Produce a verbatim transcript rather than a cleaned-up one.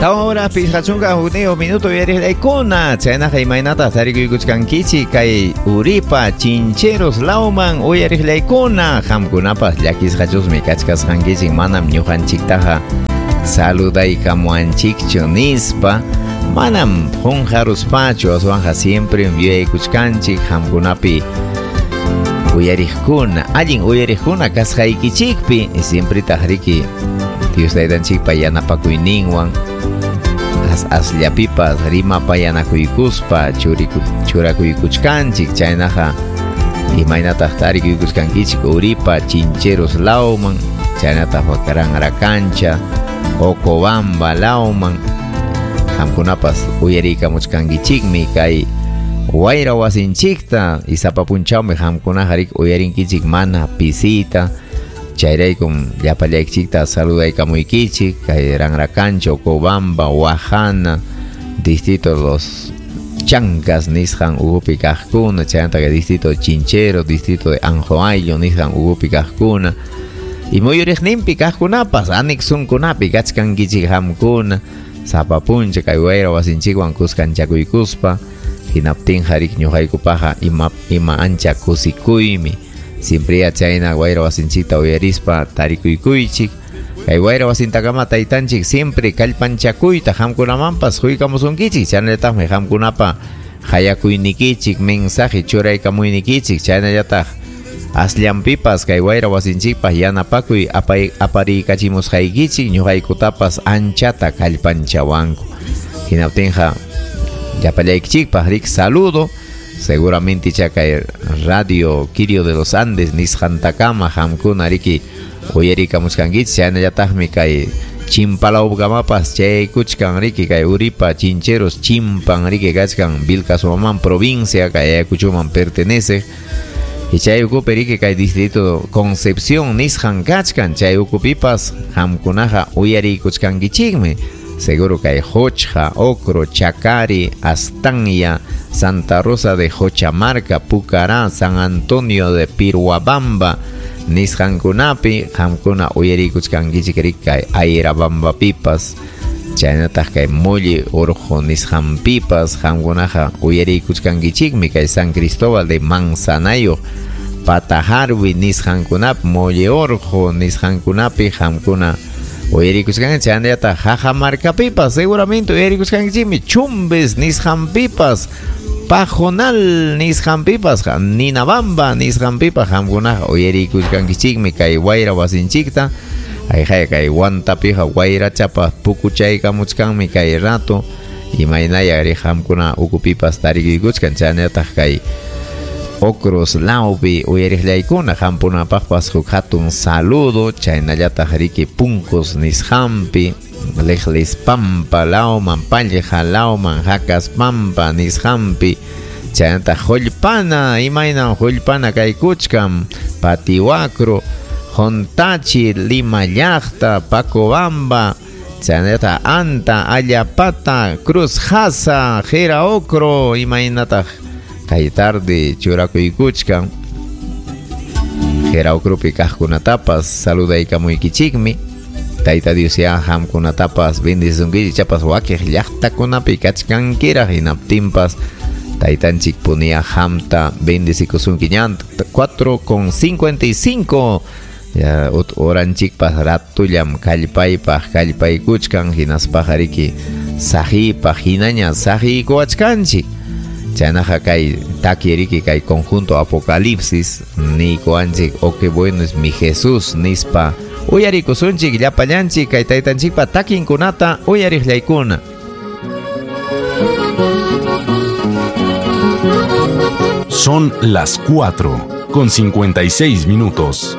Tawa horas pichqa chunka hukniyuq minuto uyariqllaykuna chaynaqa imaynataq tarikuykuchkankichik kay Uripa Chincheros lawman uyariqllaykuna qamkunapas llakisqachusmi kachkasqankichik manam ñuqanchiktaqa saludaykamuanchikchu nispa manam qunqaruspachu aswanqa siempre yuyaykuchkanchik qamkunapi uyariqkuna allin uyariqkuna kasqaykichikpi siempre taqriki Dios taytanchikpa yanapakuyninwan as asllapipas rimapayanakuykuspa churakuykuchkanchik chaynaqa imaynataq tarikuykuchkankichik Uripa Chincheros lawman chaynataq Ranrakancha Ocobamba lawman qamkunapas uyariykamuchkankichikmi kay wayra wasinchikta isapapunchawmi qamkunaqa rik uyarinkichik mana pisita chayraykum llapallaykichikta saludaykamuykichik kay Ranrakancha, Ocobamba, Huajana, distrito Los Chancas nisqan ukupi kaqkuna chaynata kay distrito Chinchero, distrito de Anjoayo nisqan ukupi kaqkuna y muyuriqninpi kaqkunapas anexunkunapi kachkankichik qamkuna sapapuncha kay wayra wasinchikwan kuskanchakuykuspa hinaptinqa rik ñuqaykupaqa ima ima ancha kusikuymi siempre chayna wayra wasinchikta uyarispa tarikuykuychik kay wayra wasintakama taytanchik siempre kallpanchakuyta qamkunamanpas huykamusunkichik chaynallataqmi qamkunapa hayakuynikichik mensaje churaykamuynikichik chaynallataq asllanpipas kay wayra wasinchikpaq yanapakuy apay apariykachimusqaykichik ñuqaykutapas anchata kallpanchawanku hinaptinqa llapallaykichikpaq rik saludo seguramente kay Radio Quirio de los Andes nisqantakama qamkuna riki uyarikamuchkankichik chaynallataqmi kay Chimpalawkamapas chaykuchkan riki kay Uripa Chincheros chimpan riki kachkan Vilcashuamán provincia kay Ayacuchoman pertenece y chay ukupi riki kay distrito Concepción nisqan kachkan chay ukupipas qamkunaqa uyariykuchkankichikmi seguro kay Hochja, Ocro, Chacari, Astanya, Santa Rosa de Jochamarca, Pucará, San Antonio de Piruabamba nisqankunapi qamkuna uyariykuchkankichik riki kay Ayrabambapipas chaynataq kay Molli Urqu nisqanpipas qamkunaqa uyariykuchkankichikmi kay San Cristóbal de Manzanayo Patajarwi nisqankunapi Molli Urqu nisqankunapi qamkuna uyariykuchkankichik chaynallataq Jajamarcapipas seguramente uyariykuchkankichikmi Chumbes nisqanpipas Pajonal nisqanpipas Ninabamba nisqanpipas qamkunaqa uyariykuchkankichikmi kay wayra wasinchikta ayjay kay Huantapiqa wayrachapa pukuchaykamuchkanmi kay rato imaynaya ri qamkuna ukupipas tarikuykuchkan chaynallataq kay Ocros lawpi uyariqllaykuna qamkunapaqpas huk hatun saludo chaynallataq riki Puncos nisqanpi Lejlispampa lawman Pallja lawman Jacaspampa nisqanpi chaynataq Hullpana imaynan Hullpana kaykuchkan Patihuacro Jontachi, Lima llaqta, Pacobamba chaynallataq Anta, Allapata, Cruz Jasa, Jera Ocro imaynataq kay tarde churakuykuchkan Jera Ocropi kaqkunatapas saludaykamuykichikmi Tayta Dios ya qamkunatapas bendisunkichik chapas wakiq llaqtakunapi kachkankiraq hinaptinpas taytanchik punia qamta bendicikusunki ñan cuatro con cincuenta y cinco ya oranchikpas ratullam kallpaypaq kallpaykuchkan hinaspaqa riki saqiypaq hinaña saqiykuwachkanchik chaynaqa kay taki riki kay conjunto Apocalipsis niykuwanchik oh qué bueno es mi Jesús nispa uyarikusunchik llapallanchik kay taytanchikpa takinkunata uyariqllaykuna. Son las cuatro con cincuenta y seis minutos.